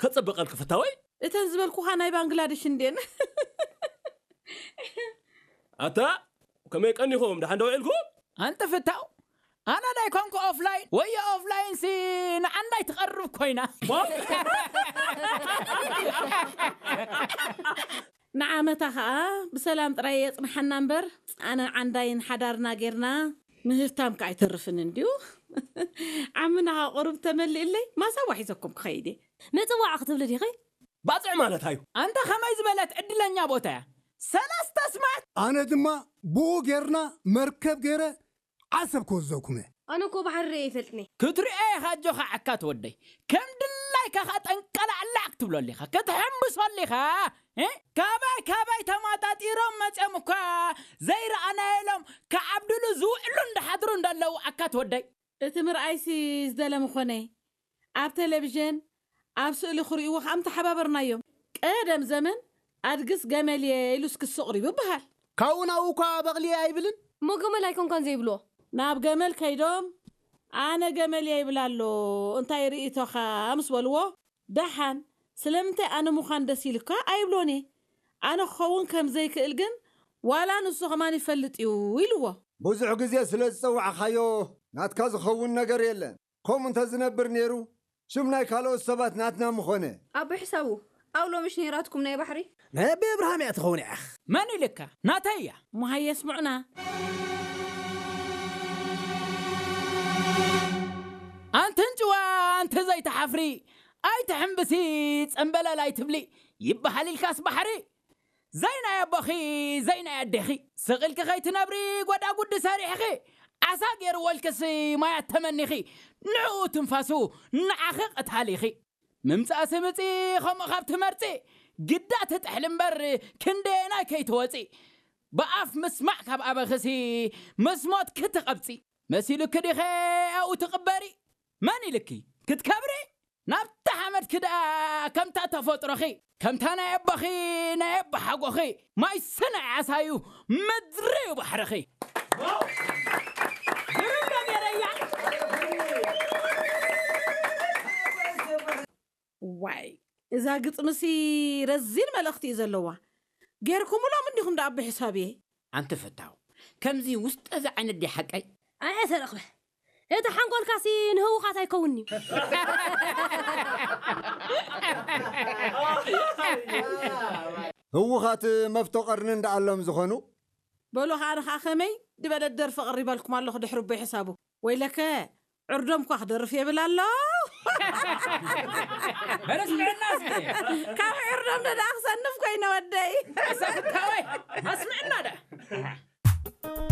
ከጸብቐልኪ ፍታወይ። እተን ዝበልኩኻ ናይ ባንግላደሽ እንዴን? ኣታ፣ ከመይ ቀኒኹም? ደሓን ዶ ውዒልኩም? ኣንተ ፍታው፣ ኣነ ዳይ ኮንኩ ኦፍላይን፣ ወዮ ኦፍላይን ሲ ንዓንዳይ ትቐርብ ኮይና። ሞ? ንዓመታ ኸኣ ብሰላም ጥራይ የጽንሓና እምበር፣ ኣነ ዓንዳይን ሓዳርና ጌርና ምህብታም ከኣ ኣይተርፍን እንድዩ። ዓምና ኸኣ ቁሩብ ተመሊእለይ፣ ማሳዋ ሒዘኩም ክኸይድ እየ። ምጽዋዕ ክትብሊ ዲኺ? ባጽዕ ማለት ኣዩ። ኣንታ ኸመይ ዝበለት ዕድለኛ ቦታ እያ። ሰለስተ ስማት! ኣነ ድማ ብኡ ጌርና መርከብ ጌረ ዓሰብ ክወስደኩም እየ። ኣነ እኮ ባሕሪ ርእየ ኣይፈልጥን እየ። ክትሪኦ ኢኻ ኣጆኻ ዓካት ወደይ። ከም ድላይካ ኸኣ ጠንቀላዕላዕ ክትብለሉ ኢኻ። ክትሕምብሰሉ ኢኻ። እ? ካባይ ካባይ ተማጣጢሮም መጺኦም እኳ ዘይረኣናዮ ኢሎም ክዓብድሉ ዝውዕሉ እንዳሓድሩ እንዳለዉ ዓካት ወደይ። እቲ ምርኣይሲ ዝደለ ምኾነ። ኣብ ቴሌቪዥን፣ ኣብ ስእሊ ክርእይዎ ከኣ ምተሓባበርናዮም። ቀደም ዘመን ኣድግስ ገመልየ ኢሉስ ክሲ ኣቕሪቡ ይበሃል። ካብኡ ናብኡ እኳ በቕልየ ኣይብልን። እሞ ገመል ኣይኮንካን ዘይብልዎ? ናብ ገመል ከይዶም፣ ኣነ ገመልየ ይብል ኣሎ፣ እንታይ ርእይቶኻ? ምስ በልዎ፣ ደሓን ስለምንታይ ኣነ ምዃን ደስ ኢሉካ ኣይብሎን እየ። ኣነ ክኸውን ከም ዘይክእል ግን ዋላ ንሱ ከማን ይፈልጥ እዩ ኢልዎ። ብዙሕ ግዜ ስለ ዝጸዋዕኻዮ ናትካ ዝኸውን ነገር የለን። ከምኡ እንተ ዝነብር ነይሩ፣ ሽም ናይ ካልኦት ሰባት ናትና ምኾነ። ኣቦይ ሕሳቡ፣ ኣብ ሎምሽ ነይራትኩም ናይ ባሕሪ? ናይ ኣቦይ ኣብርሃም እያ ትኸውን ኢኻ። መን ኢልካ? ናተይ እያ። እሞ ሃየ ስምዑና። ኣንቲ እንጭዋ፣ ኣንቲ ዘይትሓፍሪ፣ ኣይትሕምብሲ፣ ጸምበለል ኣይትብሊ፣ ይበሃል ኢልካስ ባሕሪ? ዘይናይ ኣቦኺ፣ ዘይናይ ኣዴኺ፣ ስቕ ኢልኪ ከይትነብሪ ጓዳጉዲ ሰሪሕኺ፣ ዓሳ ገይርዎ ኢልክሲ ማያት ተመኒኺ፣ ንዕኡ ትንፋሱ ንዓኺ ቀታሊኺ። ምምጻእሲ ምጺ፣ ከምኡ ካብ ትመርጺ፣ ግዳ ትጥሕሊ እምበር ክንደየናይ ከይትወጺ። ብኣፍ ምስማዕ ካብ ኣበኽሲ፣ ምስ ሞትኪ ትቐብጺ። መሲሉኪ ዲኸ ኣብኡ ትቕበሪ? መን ኢልኪ ክትከብሪ? ናብታ ሓመድኪ ደኣ ከምታ ተፈጥሮኺ፣ ከምታ ናይ ኣቦኺ ናይ ኣቦሓጎኺ፣ ማይ ስነ ዓሳዩ ምድሪ እዩ ባሕርኺ። ግርም ነገር እያ። ዋይ፣ እዛ ግጥምሲ ረዚን መልእኽቲ እዩ ዘለዋ። ጌርኩምሎም እንዲኹም ደኣ ብሕሳብየ። ኣንቲ ፍታው፣ ከምዚ ውስጠ እዚ ዓይነት ድዩ ሓቀይ? ኣየ ተረኽበ። እቲ ሓንጎልካሲ ንህውኻት ኣይከውን'ዩ። ህውኻት መፍቶ ቀርኒ እንዳኣሎም ዝኾኑ። በሉ ኸኣ ንኸኣ ከመይ ድበለት ደርፊ ኣቕሪባልኩም ኣለኹ ድሕሪ ኣቦይ ሕሳቡ። ወይለከ ዕርዶም እኳ ክደርፍ የብል ኣሎ። በለስ ጥዕና እስከ። ካብ ዕርዶም ደኣ